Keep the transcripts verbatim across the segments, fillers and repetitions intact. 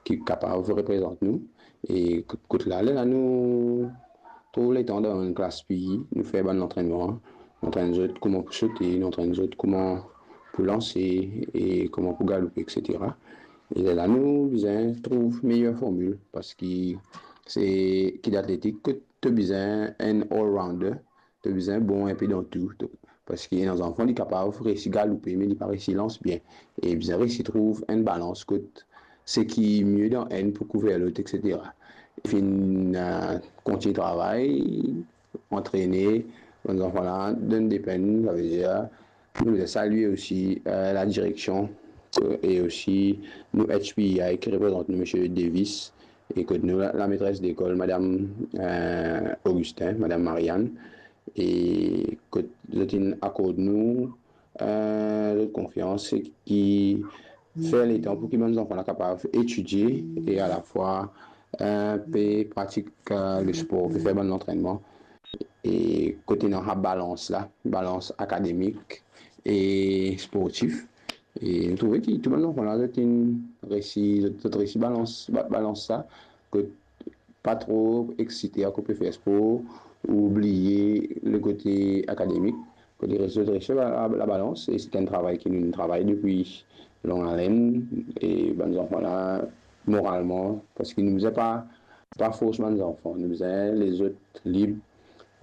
ki kapav reprezant nou. E kot, kot la, lerla nou trouv letan dan enn klas pi, nou fer bann lantrennman, nou antrenn zot kouma pou sote, nou antrenn zot kouma pou lanse e kouma pou galoupe, et cetera. E lerla nou bizin trouv meyer formil, parski se ki atletik kot to bizin enn all-rounder, to bizin bon inpe dan tou, to, parski ena zanfan li kapav resi galoupe, me li pa resi lans bien. E bizin resi trouv enn balans kot seki mie dan enn pou kouver lot, et cetera. Finn, eh, kontign travay, antrene bann zanfan la, donn depenn, savedir, nou bizin salye osi, eh, ladireksion, eh, e osi nou H P I ki reprezant nou, Misie Davis, e kot nou la, lametres lekol, Madam, eh, Augustin, Madam Marianne, e kot zot inn akord nou, eh, zot konfians, e ki fer letan pou ki bann zanfan la kapav etidie e alafwa, eh, pe pratik, eh, lespor, pe fer bann lantrennman. E kot ena sa balans la, balans akademik e sportif. E nou trouve ki tou bann zanfan la, zot inn resi, zot, zot resi balans, ba-, balans sa, kot pa tro eksite akoz pe fer spor, ou bliye le kote akademik, kot li res, zot resi la, la, labalans, e se enn travay ki nou travay depi long aletenn, e bann zanfan la, moralman, parski nou bizin pa, pa fors bann zanfan, nou bizin les zot lib,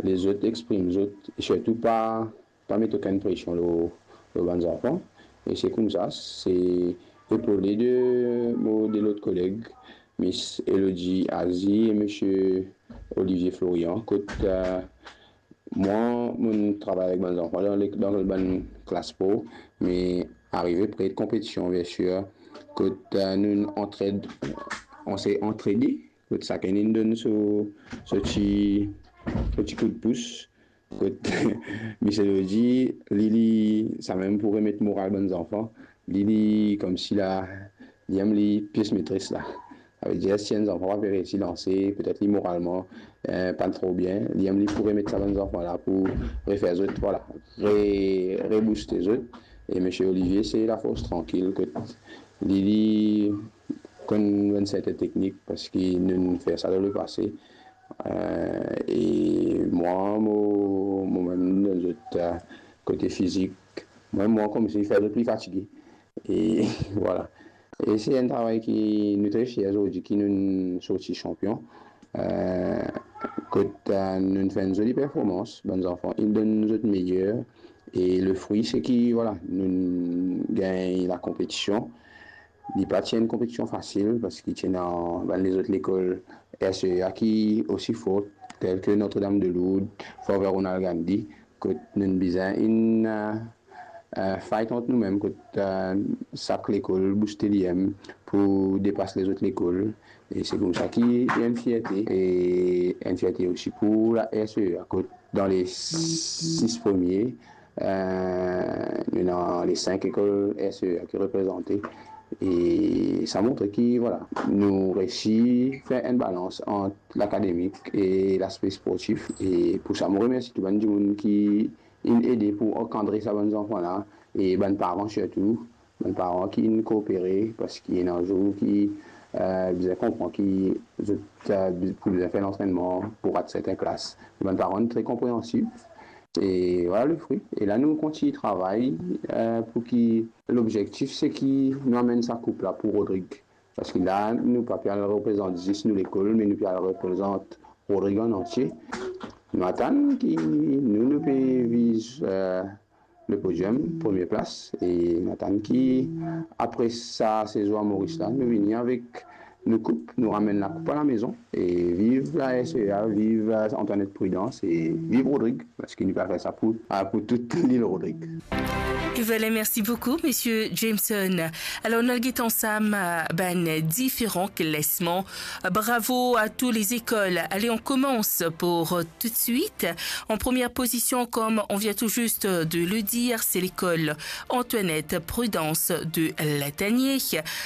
les zot exprim zot, e sirtou pa, pa met okenn presion lor, lor bann zanfan. E se koumsa, se epole de mo de lot koleg, Miss Elodie Azi e Misie Olivier Florian, kot, eh, mwa, mo travay avek bann zanfan dan le, dan bann klas pro, me arive pre konpetision, biensir, kot, eh, nou antred, on se antrede, kot sakenn inn donn so, so ti, so ti koudpous. Kot Miss Elodie, li, li, samem pou remet moral bann zanfan, li, li, koumsi la, li enn li pies metres la. Savedir, si enn zanfan pa pe resi lanse, petet li moralman, eh, pa tro bien, li enn li pou remet sa bann zanfan la pou refer zot, vwala, re-, rebouste zot. E Misie Olivier, se lafors trankil, kot li, li konn enn serten teknik, parski nou, nou fer sa dan lepase. Eh, e mwa, mo, momem, dan zot, eh, kote fizik, mwa, mwa, koumsi fer zot pli fatige. E vwala. E se enn travay ki nou tre fier zordi ki nou sorti sanpion. Eh, kot, eh, nou fer enn zoli performans, bann zanfan, inn donn zot meyer. E le fri, se ki, vwala, nou gagn lakonpetision. Li pa ti enn konpetision fasil, parski ti ena bann lezot lekol R C E A ki osi for, tel ki Notre-Dame de Lourdes, Fort Ronald Gandhi, kot nou bizin inn, eh, eh, fight ant noumem, kot, eh, sak lekol bouste li mem pou depas lezot lekol. E se koumsa ki enn fierte, e enn fierte osi pou la R C E A, kot dan le sis premie, eh, nou ena le sink lekol R C E A ki reprezante. E sa montre ki, vwala, nou resi fer enn balans ant lakademik e laspe sportif. E pou sa, mo remersi tou bann dimoun ki inn ede pou ankadre sa bann zanfan la, e bann paran sirtou, bann paran ki inn koopere, parski ena zour ki, eh, bizin konpran ki zot, eh, pou bizin fer lantrennman pou rat serten klas. Bann paran tre konpreansib. E vwala le fri. E la, nou kontign travay, eh, pou ki lobzektif, se ki nou amenn sa koup la pou Rodrig. Parski la, nou pa pe al reprezant zis nou lekol, me nou pe al reprezant Rodrig an antie. Nou atann ki nou, nou pe viz, eh, le podium, premie plas. E nou atann ki apre sa sezon a Moris la, nou vini avek nou koup, nou ramenn lakoup alamezon. E viv la R C E A, viv, eh, Antoinette Prudence e viv Rodrig, parski nou pe al fer sa pou, eh, pou tou lil Rodrig. E vwala, mersi boukou, Misie Jameson. Alor, nou al get ansam, eh, bann diferan klasman. Bravo à toutes les écoles. Allez, on commence pour, euh, tout de suite. En première position, comme on vient tout juste de le dire, c'est l'école Antoinette Prudence de Latanier,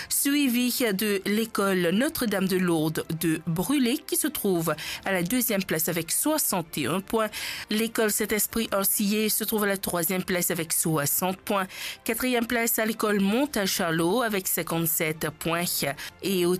suivie de l'école Notre-Dame de Lourdes de Brûlé, qui se trouve à la deuxième place avec soixante et un points. L'école Saint-Esprit R C A se trouve à la troisième place avec soixante points. Quatrième place à l'école Montagne Charlot avec cinquante-sept points. Et au